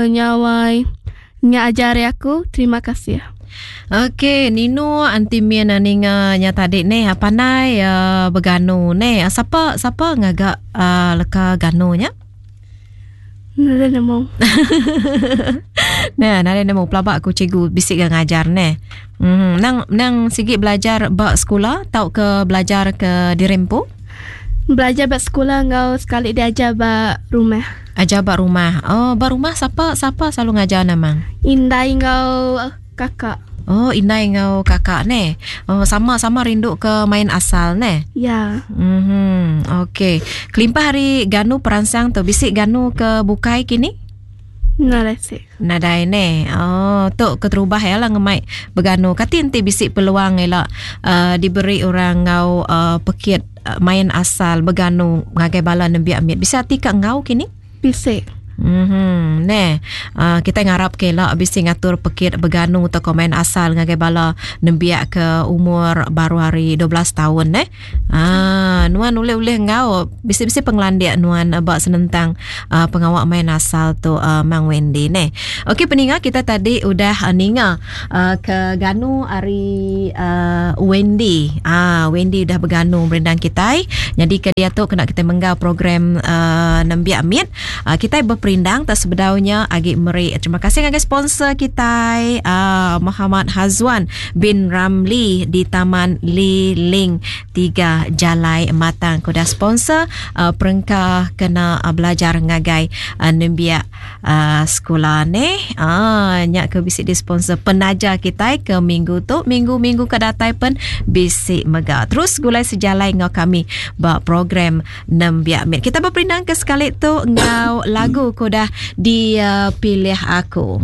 Nyawai. Nya aja ari aku. Terima kasih. Okey, Nino anti min ninga nya tadi neh pandai uh, beganu neh. Sapa sapa ngaga uh, leka ganu nya? Nadai nemu. Neh, nadai nemu pelaba aku cikgu bisi ga ngajar neh. Mm, nang nang sigi belajar ba sekula tauka belajar ke diri empu? Belajar ba sekula enggau sekali diajar ba rumah. Ajar ba rumah. Oh, ba rumah sapa sapa selalu ngajar nama? Indai enggau kakak. Oh, indai enggau kakak neh. Oh, sama-sama rindu ke main asal neh. Ya. Mhm. Okey. Kelimpah ari ganu peransang tu bisi ganu ke bukai kini? Nadai sik. Nadai neh. Oh, tu keterubah ya lah ngemai beganu. Kati enti bisi peluang ila uh, diberi orang ngau uh, pekit uh, main asal beganu ngagai bala nembiak mit. Bisi ati ka ngau kini? Bisi. Mhm. Neh. Uh, kita ngarap ke ila bisi ngatur pekit beganu atau main asal ngagai bala nembiak ke umur baru hari 12 tahun neh. Ah, nuan ulih-ulih enggau bisi-bisi pengelandik nuan ba senentang uh, pengawa main asal tu uh, Mang Wendy neh. Okey peninga kita tadi udah uh, ninga uh, ke ganu ari uh, Wendy. Ah, Wendy udah beganu merindang kitai. Jadi ke dia tu kena kita menggau program uh, nembiak mit. Uh, kitai beperindang tak sebedaunya agi meri terima kasih ngagai sponsor kitai uh, Muhammad Hazwan bin Ramli di Taman Li Ling 3 Jalai Matang ke udah sponsor uh, perengka kena uh, belajar ngagai uh, nembiak uh, sekula ni. Ah uh, nya ke bisi di sponsor penaja kitai ke minggu tu, minggu-minggu ke datai pen bisi mega. Terus gulai sejalai enggau kami ba program Nembiak Mit. Kita beperindang ke sekali tu enggau lagu ke udah dipilih aku.